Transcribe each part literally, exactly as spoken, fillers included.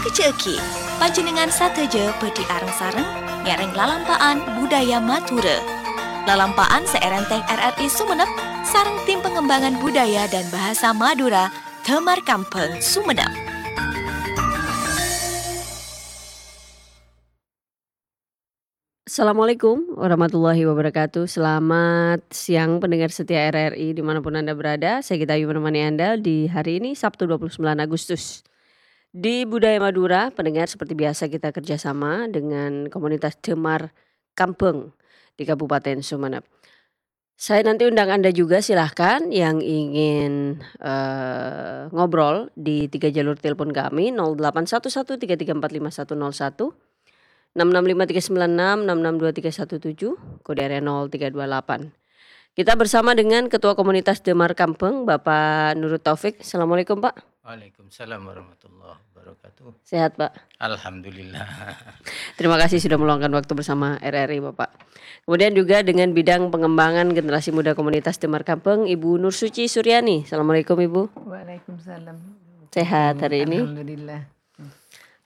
Kejjhâ'âghi, panjhennengngan sadhâjâ bhâdhi areng-sareng ngèrèng lalampa'an budaya Madhurâ. Lalampa'an sè èrèntèng R R I Sumenep sareng Tim Pengembangan Budaya dan Bahasa Madura, Damar Kambhâng, Sumenep. Assalamualaikum warahmatullahi wabarakatuh. Selamat siang pendengar setia R R I dimanapun Anda berada. Saya Gita Ayu menemani Anda di hari ini, Sabtu dua puluh sembilan Agustus. Di Budaya Madura, pendengar, seperti biasa kita kerjasama dengan komunitas Damar Kambhâng di Kabupaten Sumenep. Saya nanti undang Anda juga, silahkan yang ingin, eh, ngobrol di tiga jalur telepon kami, nol delapan satu satu tiga tiga empat lima satu nol satu, enam enam lima tiga sembilan enam, enam enam dua tiga satu tujuh, kode area nol tiga dua delapan. Kita bersama dengan Ketua Komunitas Damar Kambhâng, Bapak Nurut Taufik. Assalamualaikum, Pak. Waalaikumsalam warahmatullahi wabarakatuh. Sehat, Pak? Alhamdulillah. Terima kasih sudah meluangkan waktu bersama R R I, Bapak. Kemudian juga dengan bidang pengembangan generasi muda komunitas Damar Kambhâng, Ibu Nur Suci Suryani. Assalamualaikum, Ibu. Waalaikumsalam. Sehat hari ini? Alhamdulillah.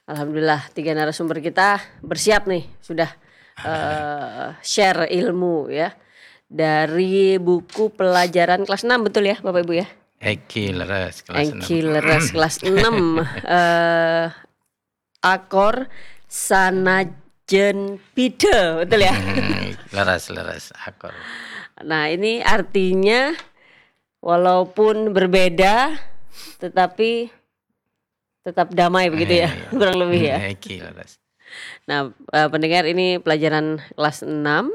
Alhamdulillah, tiga narasumber kita bersiap nih, sudah, eh, share ilmu ya. Dari buku pelajaran kelas enam, betul ya, Bapak Ibu ya? Èngghi leres, kelas enam. Èngghi leres, kelas enam. Eh, akor sanajjhân bhidhâ, betul ya? Leres, leres, akor. Nah, ini artinya walaupun berbeda, tetapi tetap damai begitu ya, eh, iya, kurang lebih ya. Hmm, èngghi leres. Nah, eh, pendengar, ini pelajaran kelas enam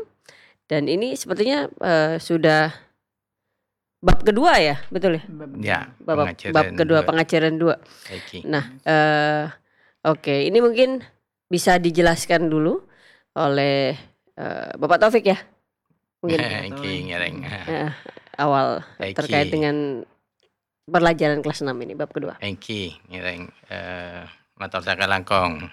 dan ini sepertinya, eh, sudah bab kedua ya, betul ya? Bab Ya, kedua. Bab, bab kedua, pengajaran dua. Pengajaran dua. Èngghi. Nah, eh, oke, ini mungkin bisa dijelaskan dulu oleh, eh, Bapak Taufik ya? Mungkin. Èngghi ngèrèng. Eh, awal Èngghi. Terkait dengan pelajaran kelas enam ini, bab kedua. Èngghi ngèrèng, eh, mator sakalangkong,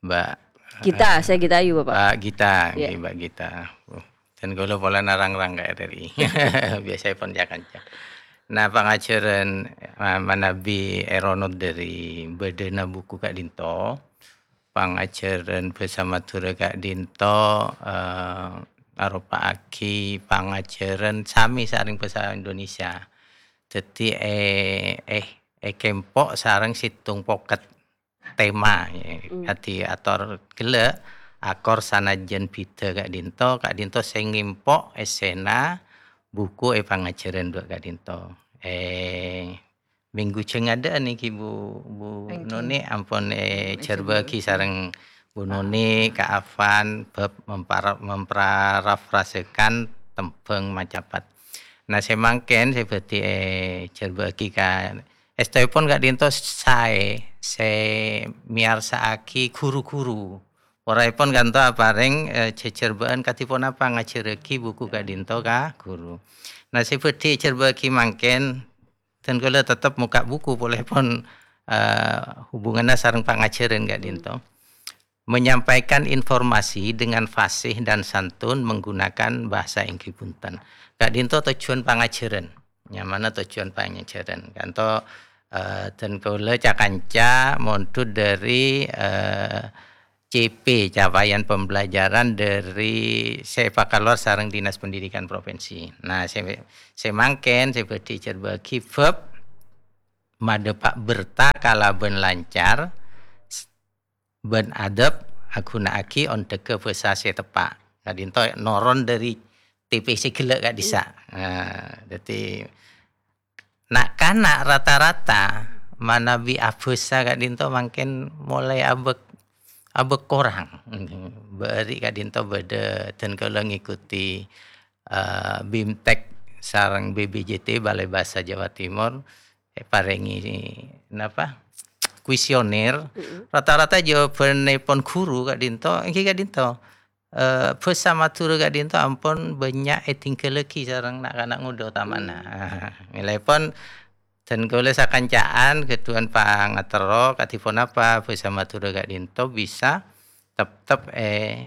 Mbak, Gita, eh, saya Gita Ayu, Bapak. Mbak Gita, Iya. Èngghi, Mbak Gita. Uh, dan kula polana rang-rang ka R R I. Biasanya pon jakan. Nah, pangajhârân, eh, manabi èronot dâri bâdâna buku ka'dinto, pangajhârân bhâsa Madhurâ ka'dinto, eh, aropa'aghi pangajhârân sami sareng bhâsa Indonesia. Dhâddhi, eh, eh, èkempo' sareng sèttong poket tema, ya. Hmm. Kadhi ator ghellâ', akor sanajjhân bhidhâ ka'dinto, ka'dinto sè ngèmpo' èssèna buku è pangajhârân dua ka'dinto. Eh, minggu jhâ' ngadâ'ân nèka, Bu, Bu Èngghi. Noni ampon, eh, Èngghi, èjhârbâ'âghi èjhârbâ'âghi. Sareng Bu Noni, Ka Afan, bab mempara-, memparafrasekan tembhâng macapat. Nah, sè mangkèn sè bhâdhi èjhârbâ'âghi ka èstoèpon ka'dinto saè sè mèyarsa'aghi ru-ghuru. Oraèpon ka'dinto aparèng, eh, jhâjhârbâ'ân kadhi ponapa ngajhârâghi buku ka'dinto ka ru-ghuru. Nah, sè bhâdhi èjhârbâ'âghi mangkèn, dan kaulâ tetep mokka' buku polèpon, eh, hubunganna sareng pangajhârân ka'dinto. Menyampaikan informasi dengan fasih dan santun menggunakan bahasa èngghi bhunten. Ka'dinto tojjhuwân pangajhârân. Nyamana tojjhuwân pangajhârân. Ka'dinto, eh, dan kaulâ ca-kanca mondhut dâri, eh, C P, Capaian Pembelajaran dâri sè èpakalowar sareng Dinas Pendidikan Provinsi. Nah, sè, sè mangkèn sè bhâdhi èjhârbâ'âghi bab madhâpa' berta kalabân lancar, s-, bân adab, aghuna'aghi ondhâghâ bhâsa sè teppa'. Ka'dinto noron dâri T P sè ghellâ' ka'dissa'. Nah, dhâddhi na'-kana' rata-rata manabi abhâsa ka'dinto mangkèn molaè abâ', abâ' korang. Bâri' ka'dinto bâdâ dan kaulâ ngikuti, eh, BIMTEK sareng B B J T, Balai Bahasa Jawa Timur, èparèngè, napa, kuesioner. Mm-mm. Rata-rata jawabannèpon ghuru ka'dinto, èngghi ka'dinto. Eh, bhâsa Madhurâ ka'dinto ampon bânnya' ètingghâllaghi sareng na'-kana' ngodâ otamana. Mèlaèpon dan kaulâ sakanca'an ghâdhuwân pangaterro kadhi ponapa bhâsa Madhurâ ka'dinto bisa teptep è,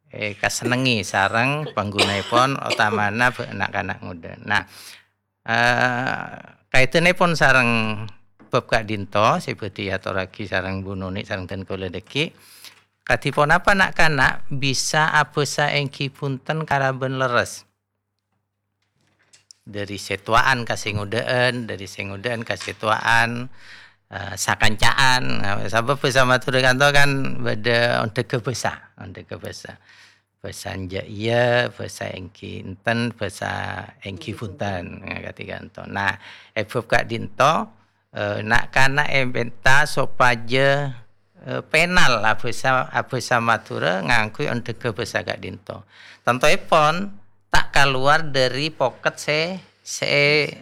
è, kasennengngè sareng panggunaèpon otamana bâ-, na'-kana' ngodâ. Nah, eh, kaèdhânèpon sareng bab ka'dhinto sè bhâdhi èatorraghi sareng Bu Noni sareng dân kaulâ dhâggi'. Kadhi ponapa na'-kana' bisa abhâsa èngghi bhunten kalabân lerres? Dhâri sè towa'an ka sè ngodâ'ân, dhâri sè ngodâ'ân ka sè towa'an, eh, sakanca'an. Nah, sabâb bhâsa Madhurâ ka'dhinto kan bâdâ ondhâghâ bhâsa, ondhâghâ bhâsa. Bhâsa enjâ' iyâ, bhâsa èngghi enten, bhâsa èngghi bhunten. Nah, kadhi ka'dhinto. Nah, è bab ka'dhinto, eh, na'-kana' èmènta sopajâ, eh, pènal abhâsa, abhâsa Madhurâ ngangghuy ondhâghâ bhâsa ka'dhinto. Tantoèpon ta' kalowar dhâri poket sè, sè,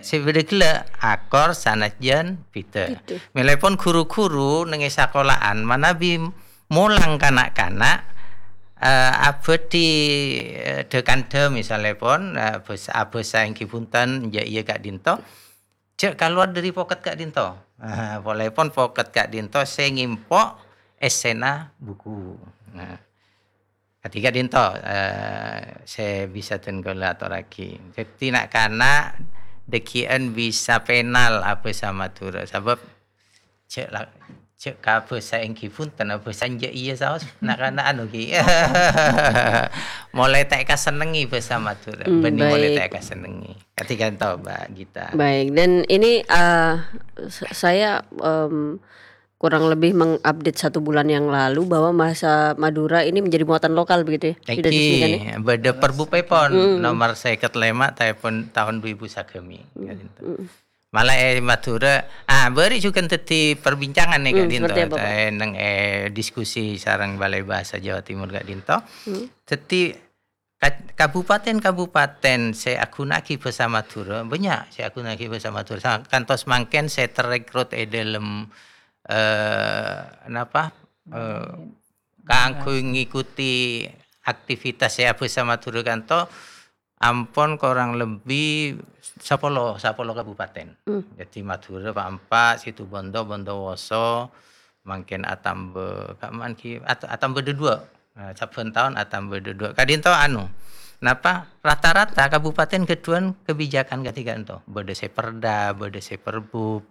sè bâdâ ghellâ', akor sanajjân bhidhâ. Bhidhâ. Mèlèpon ru-ghuru neng è sakola'an manabi molang ka na'-kana', eh, abhâdhi, eh, dhâ-kandhâ misalèpon, eh, bhâs-, abhâsa èngghi bhunten, enjâ' iyâ ka'dhinto. Jhâ' kalowar dhâri poket ka'dhinto. Ah, polèpon poket ka'dhinto sè ngèmpo' èssèna buku. Nah, kadhi ka'dhinto, eh, sè bisa dân kaulâ atorraghi. Dhâddhi na'-kana' dhâggi'ân bisa pènal abhâsa Madhurâ. Sabâb jhâ' la-, jhâ' ka bhâsa èngghi bhunten, bhâsa enjâ' iyâ saos. Na'-kana' anu ghi. Molaè ta' èkasennengngè bhâsa Madhurâ. Hmm, bânnè molaè baik. Ta' èkasennengngè. Kadhi ka'dhinto, Mbak Gita. Baik, dan ini, eh, s-, saya, em, kurang lebih mengupdate satu bulan yang lalu bahwa bahasa Madura ini menjadi muatan lokal begitu ya, di Indonesia kan ya? Èngghi, bâdâ perbupèpon Hmm. nomor sèket lèma' taèpon taon dhu èbu sagâmè, Hmm. ka'dhinto. Hmm. Mala è Madhurâ, ah, bâri' jhughân dhâddhi perbincangan nè, Hmm, ka'dhinto. Seperti apa, Pak? Eh, neng, eh, diskusi sareng Balai Bahasa Jawa Timur ka'dhinto. Hmm. Dhâddhi, ka-, kabupaten-kabupaten sè aghuna'aghi bhâsa Madhurâ, bânnya' sè aghuna'aghi bhâsa Madhurâ. Sa-, kantos mangkèn sè terrekrut è dâlem, eh, napa, eh, kaangghuy ngikuti aktivitas sè abhâsa Madhurâ ka'dhinto ampon korang lebbi sapolo, sapolo kabupaten. Hmm. Dhâddhi Madhurâ pa'-empa', Situbondo, Bondowoso, mangkèn atamba, ka'emma ghi, at-, atamba dâ-duwâ'. Nah, sabbhân taon atamba dâ-duwâ'. Ka'dhinto anu, napa, rata-rata kabupaten ghâdhuwân kabijakan kadhi ka'dhinto. Bâdâ sè perda, bâdâ sè perbub.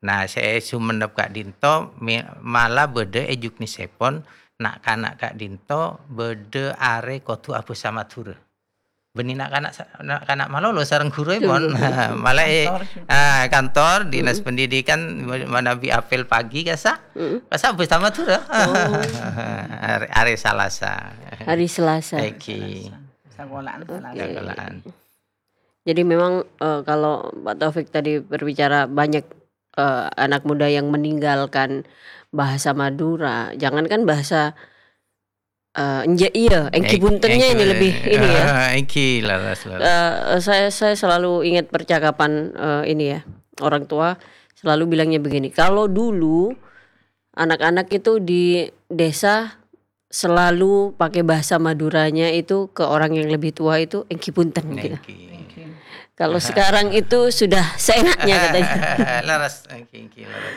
Nah, sè è Songennep ka'dhinto me-, mala bâdâ è Juknisèpon, na'-kana' ka'dhinto bâdâ arè kodhu abhâsa Madhurâ. Bânnè na'-kana' sa-, na'-kana' malolo sareng ghuru èpon. Betul, betul, betul. Mala è, Kantor juga. ah, kantor Dinas Mm-mm. Pendidikan ma-, manabi apel pagi kasa, Mm-mm. kasa bhâsa Madhurâ. Oh. Arè, arè Salasa. Hari Selasa. Èngghi. Sakola'an Oke. Salasa. Sakola'an. Jadi memang, eh, kalau Pak Taufik tadi berbicara banyak, eh, anak muda yang meninggalkan bahasa Madura, jangankan bahasa, eh, enjâ' iyâ, èngghi Èng-, bhuntennya ini èngghi, lebih ini ya. ah, èngghi, leres, leres. Eh, saya, saya selalu ingat percakapan, eh, ini ya, orang tua selalu bilangnya begini, kalau dulu anak-anak itu di desa selalu pakai bahasa Maduranya itu ke orang yang lebih tua itu, "Èngghi bhunten," gitu. Èngghi. Èngghi. Kalau sekarang itu sudah seenaknya katanya. Leres, èngghi, èngghi, leres.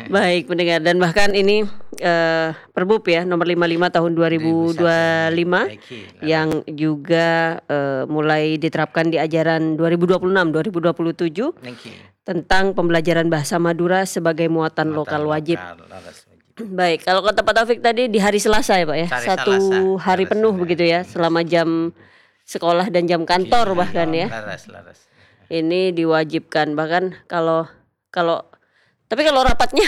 Baik, pendengar. Dan bahkan ini, eh, Perbub ya, nomor lima lima tahun dua ribu dua lima, Èngghi, leres. yang juga, eh, mulai diterapkan di ajaran dua ribu dua puluh enam, dua ribu dua puluh tujuh, Èngghi. tentang pembelajaran bahasa Madura sebagai muatan Muatan lokal wajib. lokal, leres, wajib. Baik, kalau kata Pak Taufik tadi di hari Selasa ya, Pak ya? Hari Satu Selasa, hari hari penuh Selasa. begitu ya, selama jam sekolah dan jam kantor Iya, bahkan ya. leres, leres. Ini diwajibkan, bahkan kalau, kalau, tapi kalau rapatnya